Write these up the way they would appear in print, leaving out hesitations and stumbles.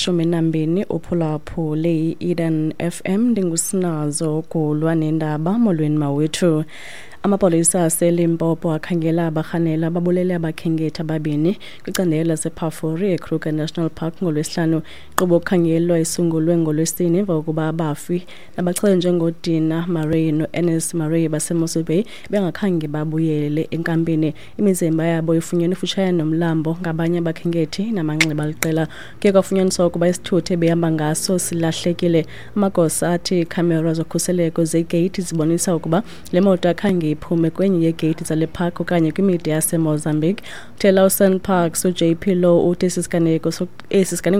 yeshumi nambini, uphulaphule i-Eden FM. Ndingusinazo Gulwa nendaba. Molweni mawethu. Amapolisa aseLimpopo akhangela abarhanela ababulele abakhenkethi ababini kwicandelo lasePhafuri eKruger National Park ngoLwesihlanu. Inkqubo yokukhangelwa isungulwe ngoLwesine emva kokuba abafi nabachazwe njengoDina Murray no-Ernest Murray baseMossel Bay bengakhange babuyele enkampini. Imizimba yabo ifunyenwe ifutshane nomlambo ngabanye abakhenkethi namanxeba aliqela. Kuye kwafunyaniswa ukuba isithuthi ebehamba ngaso silahlekile. Amagosa athi iikhamera zokhuseleko zegeyithi zibonisa ukuba le moto akhange iphume kwenye yeegeyithi zale park okanye kwimida yaseMozambique. Uthela uSANParks uJP Louw uthi esi siganeko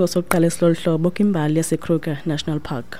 sokuqala esilolu hlobo kwimbali yaseKruger National Park.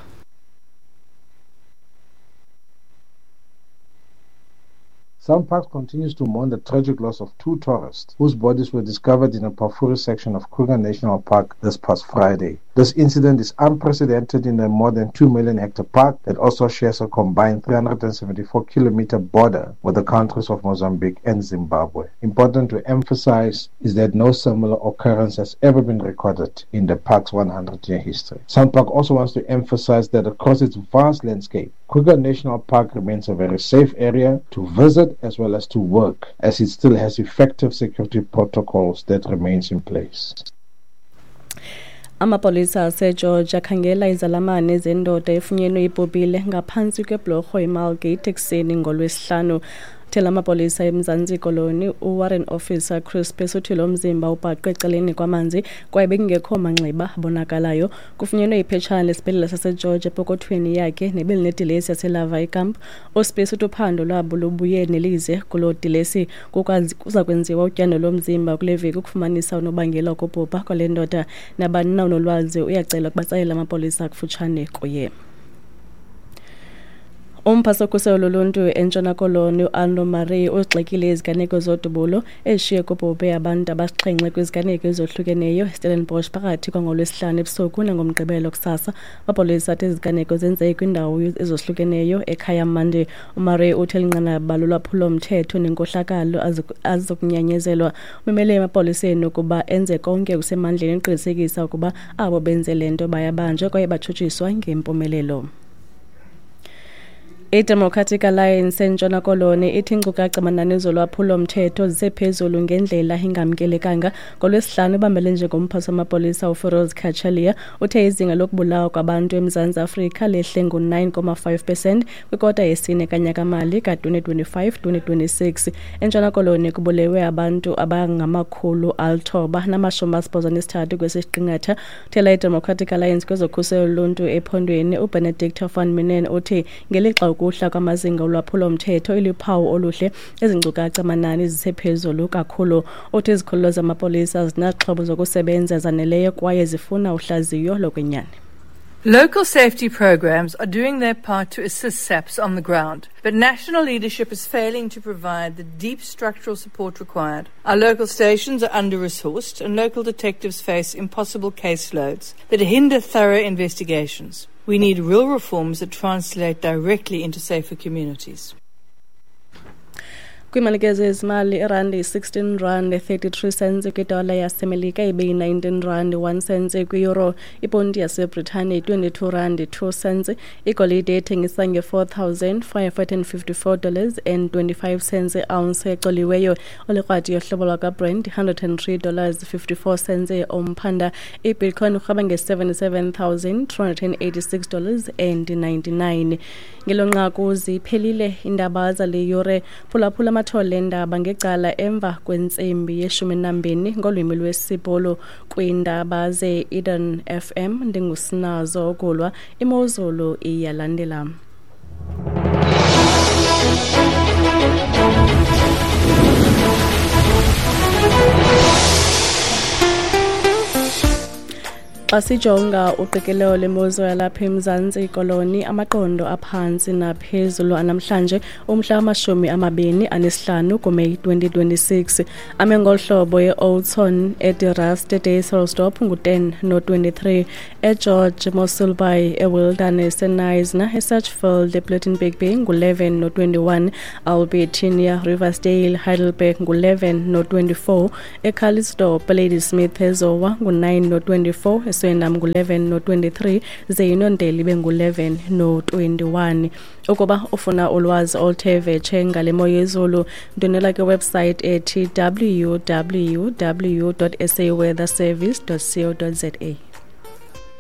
SANParks continues to mourn the tragic loss of two tourists whose bodies were discovered in the Pafuri section of Kruger National Park this past Friday. This incident is unprecedented in a more than 2 million hectare park that also shares a combined 374 kilometer border with the countries of Mozambique and Zimbabwe. Important to emphasize is that no similar occurrence has ever been recorded in the park's 100-year history. SANPark also wants to emphasize that across its vast landscape, Kruger National Park remains a very safe area to visit as well as to work, as it still has effective security protocols that remains in place. Amapolisa aseGeorge akhangela izalamane zendoda efunyenwe ibhubhile ngaphantsi kweblorho iMargate ekuseni ngoLwesihlanu. Thela amapolisa eMzantsi Koloni uWarrant Officer Chris uthi lo mzimba ubhaqwe ecaleni kwamanzi kwaye bekungekho manxeba abonakalayo. Kufunyenwe iphetshana lesibhedlele saseGeorge epokothweni yakhe nebelinedilesi yaseLawaaikamp. USpace uthi uphando lwabo lubuye nelize kuloo dilesi. Kuza kwenziwa utyando lomzimba kule veki ukufumanisa unobangela wokubhubha kwale ndoda. Nabani na unolwazi uyacelwa ukuba atsalele amapolisa kufutshane kuye. Umphathiswa wokhuselo loluntu eNtshona Koloni uAlno Murray uzigxekile iziganeko zodubulo ezishiye kubhubhe abantu abasixhenxe kwiziganeko ezohlukeneyo eStellenbosch phakathi kwangoLwesihlanu ebusuku nangoMgqibelo kusasa. Amapolisa athi iziganeko zenzeke kwiindawo ezohlukeneyo eKayamandi. UMurray uthi eli nqanaba lolwaphulo-mthetho nenkohlakalo azizukunyanyezelwa. Umemele emapoliseni ukuba enze konke okusemandleni ukuqinisekisa ukuba abo benze le nto bayabanjwa kwaye batshutshiswa ngempumelelo. IDemocratic Alliance eNtshona Koloni ithi iinkcukacha manani zolwaphulo-mthetho zisephezulu ngendlela engamkelekanga. NgoLwesihlanu ubambele njengomphathiswa wamapolisa uFiroz Cachalia uthe izinga lokubulawa kwabantu eMzantsi Afrika lehle ngo-9.5% kwikota yesine kanyaka-mali ka-2025-2026. ENtshona Koloni kubulewe abantu abangama-983 kwesi siqingatha. Uthela iDemocratic Alliance kwezokhuselo loluntu ephondweni uBenedict van Minnen uthi ngelixa ukuhla kwamazinga olwaphulo-mthetho iluphawu oluhle, ezi nkcukacha manani zisephezulu kakhulu. Uthi izikhululo zamapolisa azinaxhobo zokusebenza zaneleyo kwaye zifuna uhlaziyo lokwenyani. Local safety programs are doing their part to assist SAPS on the ground, but national leadership is failing to provide the deep structural support required. Our local stations are under resourced, and local detectives face impossible caseloads that hinder thorough investigations. We need real reforms that translate directly into safer communities. Kwimalike zezimali, irandi 16 rand 33 cents kwidola yaseMelika, ibeyi-19 rand 1 cents kwi-euro, iponti yaseBritane 22 rand 2 cents. Igolide ethengisa nge-$4,554 and 25 cents ounce ecoliweyo. Olikrwati yohlobo lwakwaBrent $103 54 cents umphanda. Ibitcoin urhweba nge-$77,286 and 99. Ngelo nqaku ziphelile iindaba zale yure. Phulaphula amathole endaba ngecala emva kwentsimbi yeshumi nambini ngolwimi lwesiBhulu kwiindaba ze-Eden FM. Ndingusinazo Gulwa. Imozulu iyalandela. Xa sijonga uqikelelo lemozulu yalapha eMzantsi Koloni, amaqondo aphantsi naphezulu anamhlanje umhla wama-25 kuMeyi 2026 ame ngolu hlobo: e-Oudtshoorn, eDe Rust, eDysselsdorp ngu-10 no-23, eGeorge, Mossel Bay, eWilderness, eKnysna, eSachsfield, ePlettenberg Bay ngu-11 no-21, Albertinia, Riversdale, Heidelberg ngu-11 no-24, eCalitzdorp, Ladysmith, eZowa ngu-9 no-24. iSwellendam ngu-11 no-23, ze iNondeli ibe ngu-11 no-21. Ukuba ufuna ulwazi oluthe vetshe ngale mo yezulu, ndwendwela kwiwebsite ethi www.saweatherservice.co.za.